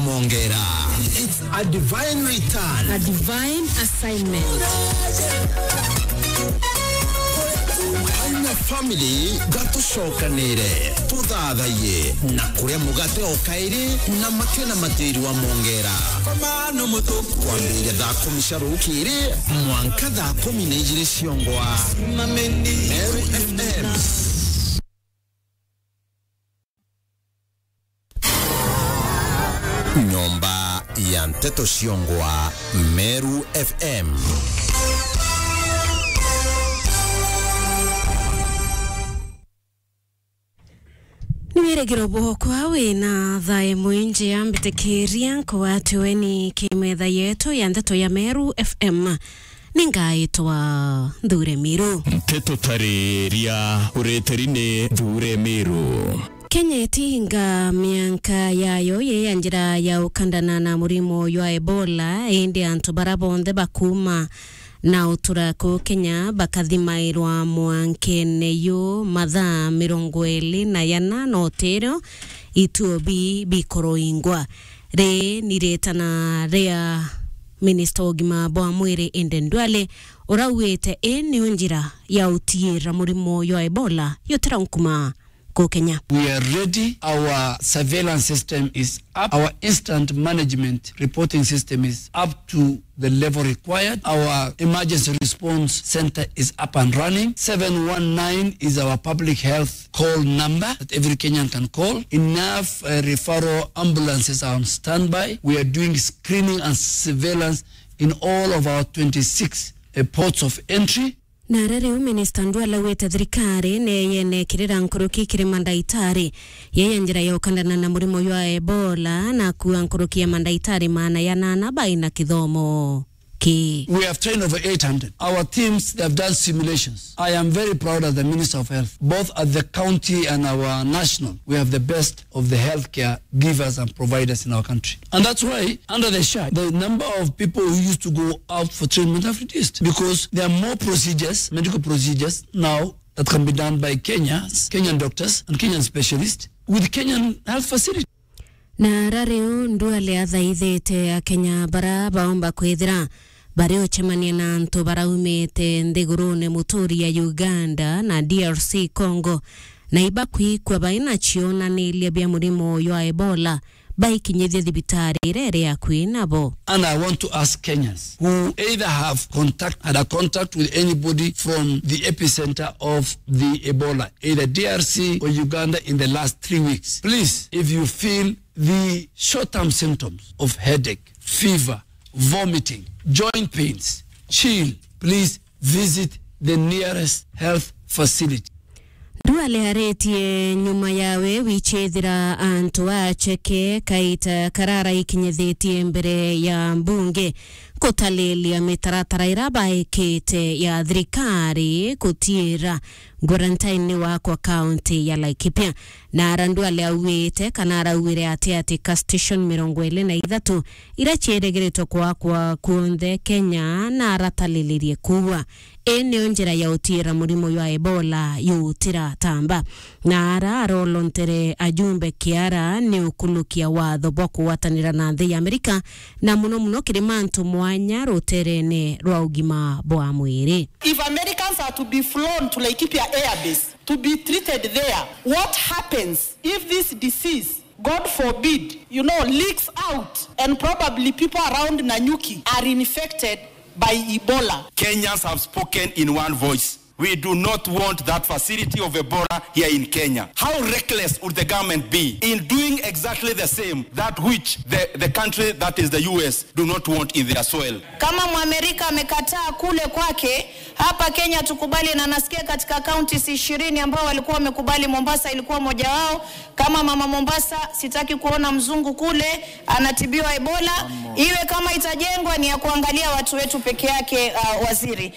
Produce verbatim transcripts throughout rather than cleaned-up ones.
Mongera. It's a divine return. A divine assignment. Aina family, gatucokanire, tuthathaiye na kuria mugate o kairi na makena matiri wa Mongera. Kwambiriria thaa kumi cia rukiri mwanka thaa kumi na ijiri ciongwa. Meru F M. Nyomba ya nteto ciongwa, Meru F M. Ni wirigiro bwokwa wina thaa imwe njia mbitikiria nkugwatiwe ni kimetha yetu ya nteto ya Meru F M. Ningaitwa Nthure Miru. Nteto tariria ureteri ni Nthure Miru. Kenya itinga mianka yayo yi ya njira ya ukandana na murimo jwa Ebola, indi antu bara bonthe bakuma na utura ku Kenya bakathimairwa mwankene yu mathaa mirongo iri na yana, na utirio ituo bi bikuruingwa. Ri ni ritana ria minista wa ugima bwa mwiri Aden Duale, uraugite ii niyo njira ya utiira murimo jwa Ebola yutira nkuma ku Kenya. We are ready. Our surveillance system is up. Our instant management reporting system is up to the level required. Our emergency response center is up and running. Seven one nine is our public health call number that every Kenyan can call. Enough, uh, referral ambulances are on standby. We are doing screening and surveillance in all of our twenty-six, uh, ports of entry. Na ara riu minista Nduale augite thirikari ni yenekirira nkuruki kiri mandaitari yeye njira ya ukandana na murimo jwa Ebola, na akua nkuruki ya mandaitari maana ya nana baina kithomo ki. We have trained over eight hundred. Our teams, they have done simulations. I am very proud as the Minister of Health, both at the county and our national. We have the best of the healthcare givers and providers in our country. And that's why, under the SHA, the number of people who used to go out for treatment have reduced because there are more procedures, medical procedures now that can be done by Kenyans, Kenyan doctors, and Kenyan specialists with Kenyan health facilities. Na ara riu Nduale athaithite Akenya bara baumba kwithira bari ucemania na antu baraumite nthigurune muturi ya Uganda na D R C Congo, na ibakwikua baina cionaniria bia murimo jwa Ebola, baikinyithie thibitari iria iri akui nabo. And I want to ask Kenyans who either have contact, had a contact with anybody from the epicenter of the Ebola, either D R C or Uganda in the last three weeks, please, if you feel the short-term symptoms of headache, fever, vomiting, joint pains, chill, please visit the nearest health facility. Nduale aritie nyuma yawe wichethira antu acheke kaita karara ikinyithitie mbere ya mbunge kutalilia mitaratara ira baikite ya thirikari kutiira quarantine wakwa kaunti ya Laikipia. Na ara Nduale augite kana arauire ati ati ka station mirongo iri na ithatu ira cierigiritwe kwakwa kuonthe Kenya na aratalilirie kuua. Ii niyo njira ya utiira murimo jwa Ebola yutiratamba. Na ara arolontere ajumbe kiara ni ukulukia watho bwa kugwatanira na nthi ya Amerika, na muno muno kiri mantu mwanya ruterene rwa ugima bwa mwiri. If Americans are to be flown to Laikipia Air Base to be treated there, what happens if this disease, God forbid, you know, leaks out and probably people around Nanyuki are infected by Ebola? Kenyans have spoken in one voice. We do not want that facility of Ebola here in Kenya. How reckless would the government be in doing exactly the same that which the, the country that is the U S do not want in their soil? Kama Mwamerika amekataa kule kwake, hapa Kenya tukubali, na nasikia katika counties ishirini ambao walikuwa wamekubali, Mombasa ilikuwa moja wao. Kama mama Mombasa, sitaki kuona mzungu kule anatibiwa Ebola. Iwe kama itajengwa ni ya kuangalia watu wetu peke yake, uh, waziri.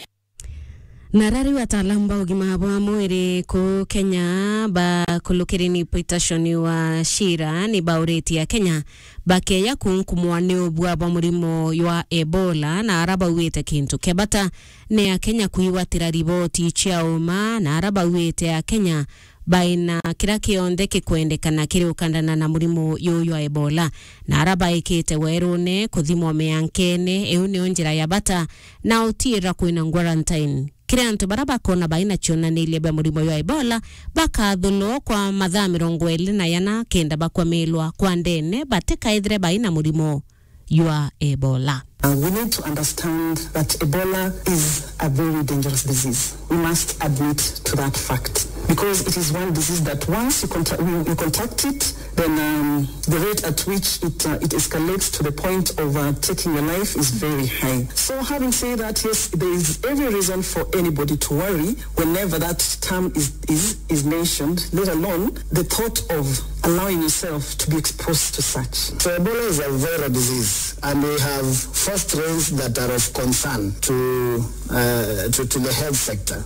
Na ara riu ataalamu ba ugima bwa mwiri ku Kenya bakulukiri ni Peterson Wachira ni bauritie Akenya bakeya kunkumwa ni ubua bwa murimo jwa Ebola, na ara bauite kintu kia bata ni Akenya kwigwatira riboti cia uma, na ara bauite Akenya baina kiria kionthe kikwendekana kiri ukandana na murimo juju jwa Ebola, na ara baikite werune kuthimwa miankene, iu niyo njira ya bata na utiira kwina quarantine. Kiri antu bara bakona baina cionaniria bia murimo jwa Ebola, bakathulwa kwa mathaa mirongo iri na yana kenda bakwamirwa kwa ndene batikaithire baina murimo jwa Ebola. Uh, we need to understand that Ebola is a very dangerous disease. We must admit to that fact because it is one disease that once you, contact, you, you contact it, then um, the rate at which it, uh, it escalates to the point of uh, taking your life is very high. So having said that, yes, there is every reason for anybody to worry whenever that term is, is, is mentioned, let alone the thought of allowing yourself to be exposed to such. So Ebola is a viral disease, and we have four strains that are of concern to, uh, to, to the health sector.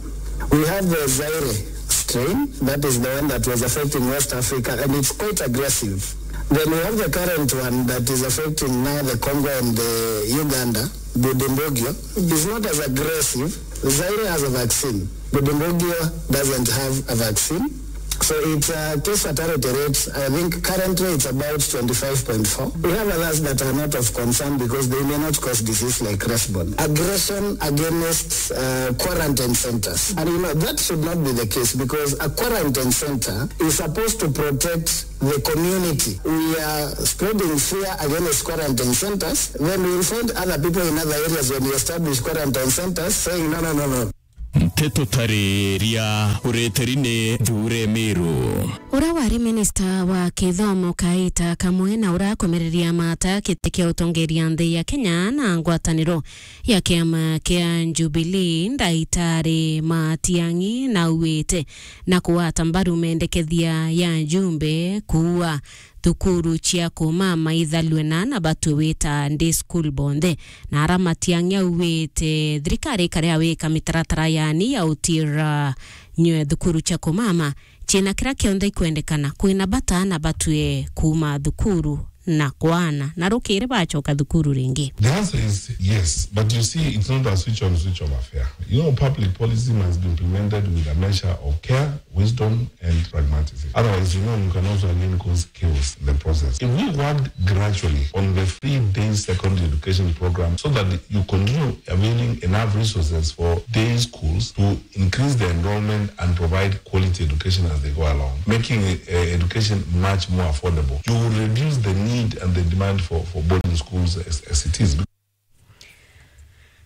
We have the Zaire strain, that is the one that was affecting West Africa, and it's quite aggressive. Then we have the current one that is affecting now the Congo and the Uganda, Bundibugyo. It's not as aggressive. Zaire has a vaccine. Bundibugyo doesn't have a vaccine. So its uh, case fatality rate, I think currently it's about twenty-five point four. We have others that are not of concern because they may not cause disease like rash bone. Aggression against uh, quarantine centers. And you know, that should not be the case because a quarantine center is supposed to protect the community. We are spreading fear against quarantine centers. Then we will find other people in other areas when we establish quarantine centers saying, "No, no, no, no." Nteto tariria ureteri ni Thure Miru. Ura wari minista wa kithomo kaita kamwe na ura akumereria mata giti kia utongeria nthi ya Kenya na ngwataniro ya kiama kia Jubilee, Ndaitari Matiang'i, nauite na kugwata mbaru mendekethia ya njumbe kuua thukuru cia kumama ithalue na na batue wita day school bonthe. Na ara Matiang'i auite thirikari ikaria wika mitaratara yani ya utira nywe thukuru cia kumama ciina kiria kionthe ikwendekana kwina bata na batue kuuma thukuru na kwana na rukiri bacoka thukuru ringi. The answer is yes, but you see, it's not a switch on, switch off affair. You know, public policy must be implemented with a measure of care, wisdom, and pragmatism. Otherwise, you know, you can also again cause chaos in the process. If we work gradually on the free day secondary education program so that you continue availing enough resources for day schools to increase the enrollment and provide quality education as they go along, making uh, education much more affordable. You will reduce the need and the demand for, for boarding schools as, as it is.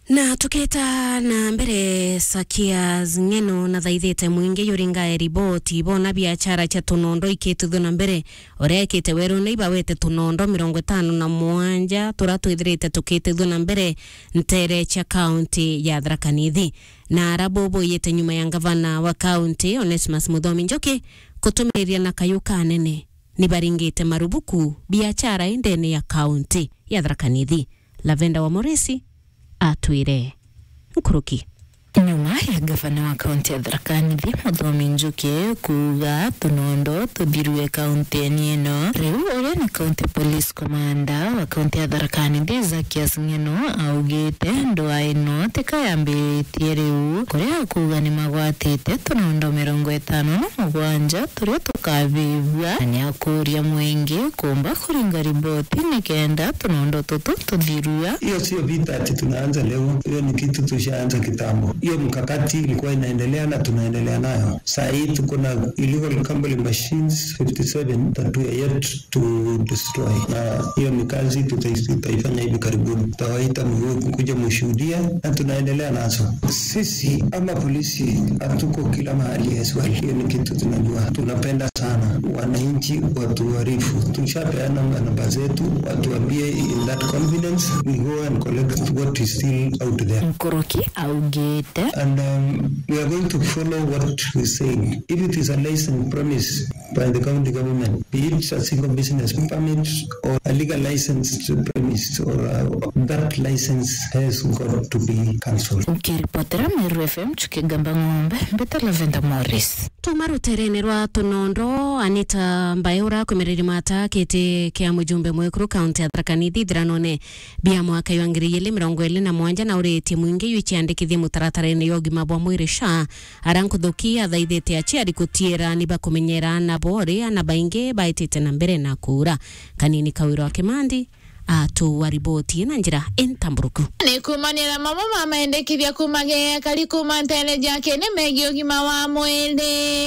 Na tuketa na mbere, Sakias Ng'eno nathaithite mwingi yuringae riboti bona biachara cia tunondo ikitithua na mbere. Uria ekite werune ibawete tunondo mirongo itano na mwanja turia twithirite tukitithua na mbere ntere cia kaunti ya Tharaka Nithi. Na ara boboyete nyuma ya ngavana wa kaunti, Onesmus Muthomi Njuki, kutumiriria na kayu kanene, ni baringite marubuku biachara indene ya kaunti ya Tharaka Nithi. Lavenda wa Moresi atwire nkuruki. Nyuma ya gavana wa kaunti ya Tharaka Nithi, Muthomi Njuki, kuuga tunondo tuthirue kaunti-ini ino, riu uria ni county police commander wa kaunti ya Tharaka Nithi, Zakias Ng'eno, augite ndwaa ino tika yambiritie riu, kuria akuuga ni magwatite tunondo mirongo itano na mugwanja turia tukavivua, na ni akuuria mwingi kumba kuringa riboti nikenda tunondo tutu tuthirua. Hiyo sio vita ati tunaanza leo, hiyo ni kitu tushaanza kitambo. Hiyo mkakati ilikuwa inaendelea na tunaendelea nayo. Saa hii tuko na illegal gambling machines fifty seven that we are yet to destroy, na hiyo ni kazi tutai-, tutaifanya hivi karibuni. Tutawaita mwe-, kuja mushuhudie, na tunaendelea nazo. Sisi ama polisi hatuko kila mahali as well. Hiyo ni kitu tunajua. Tunapenda sana wananchi watuarifu. Tushapeana namba zetu, watuambie in that confidence, we go and collect what is still out there. Nkuruki augite. And um, we are going to follow what we say. If it is a licensed premise by the county government, be it a single business permit or a legal licensed premise, or uh, that license has got to be cancelled. Nkiripotera Meru F M, Chuki Gamba Ng'ombe, mbita Lavenda Morris. Kuma ruterene rwa Tunondo, Anita Mbae uria akwimiriri mata kiti kia mujumbe mwekuru kaunti ya Tharaka Nithi ithiranone bia mwaka jwa ngiri igiri mirongo iri na mugwanja na uritie mwingi yu ciandikithie mutaratarene ya ugima bwa mwiri SHA, aria nkuthuki athaithite aciari gutiira ni bakumenyera aana bo uria aana baingi baitite na mbere na kuura. Kanini Kawirwa Kimandi, atuwa riboti na njira intamburuku. Ni kumanira mamwe ma mendekithia kuma gea kari kuma ntere jake ni megie ugima wa mwiri.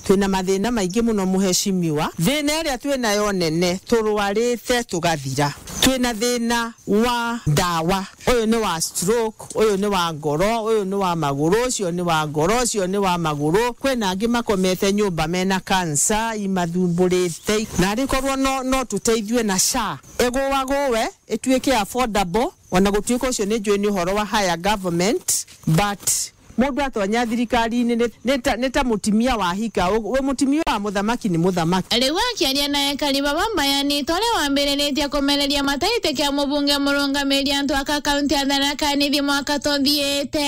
Twina mathina maingi muno, muheshimiwa. Thina iria twinayo nene, turwarite tugathira. Twina thina wa ndawa. Uyu ni wa stroke, uyu ni wa ngoro, uyu ni wa maguru, ucio ni wa ngoro, ucio ni wa maguru. Kwina angi makomete nyumba mena cancer, imathumburite. Na rikorwo no, no tuteithue na SHA. Igua guwe, ituike affordable, ona gutuika ucio ni njui ni uhoro wa higher government, but mundu atonya thirikari-ini ni, ni ta, ni ta mutimia wa hika. U-, we mutimia wa muthamaki ni muthamaki. Riu akiaria na ekari baba mbayani, tore wambiriritie kumereria mataite kia mubunge murungamiri antu aka kaunti ya Tharaka Nithi mwaka tuthiite,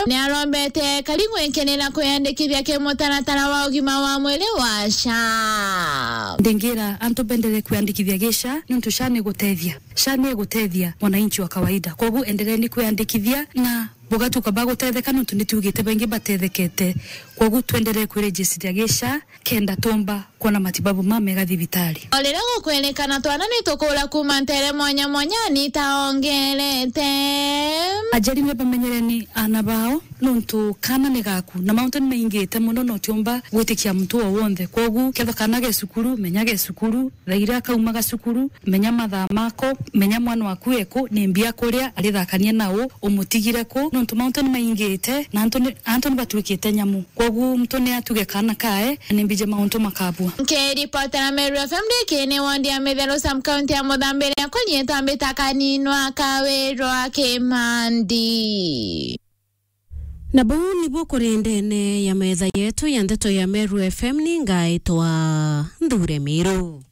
ni arombete ekari gwikirira kwiyandikithia ki mutaratara wa ugima wa mwiri wa SHA. Ndingira antu bendere kwiyandikithia gi SHA, niuntu SHA ni gutethia. SHA ni igutethia mwananchi wa kawaida. Kwogu endereni kwiyandikithia na bugatuka bagutetheka, nontu ni tuugite baingi batethekete. Kwogu twenderee kwiregistiria gi SHA kenda tumba kwona matibabu mamega thibitari. O riria gukwerekana twana ni tukuura kuuma ntere mwanya mwanya, Anita ongerete. Aciari ni bamenyereni aana bao, nontu kaana ni gaku, na mauntu ni maingite mono, na utiumba gwitikia muntu o wonthe. Kwogu kethwa kaana ge cukuru, menya ge cukuru, thaa iria kaumaga cukuru, menya mathaa mako, menya mwana waku eku, ni mbia kuria, arithakania na u, umutigire ku, nontu mauntu ni maingite, na antu ni, antu ni batuikite nyamu. Kwogu muntu ni atuge kaana kae, ni mbije mauntu makabua. Nkiripotera Meru F M ndikini wandi ya Mitheru sub county ya Muthambiria, kunyitwa mbita Kaninwa Kawirwa Kimandi. Na buu nibu kuri ndene ya metha yetu ya ndeto ya Meru F M, ni ngaitwa Nthure Miru.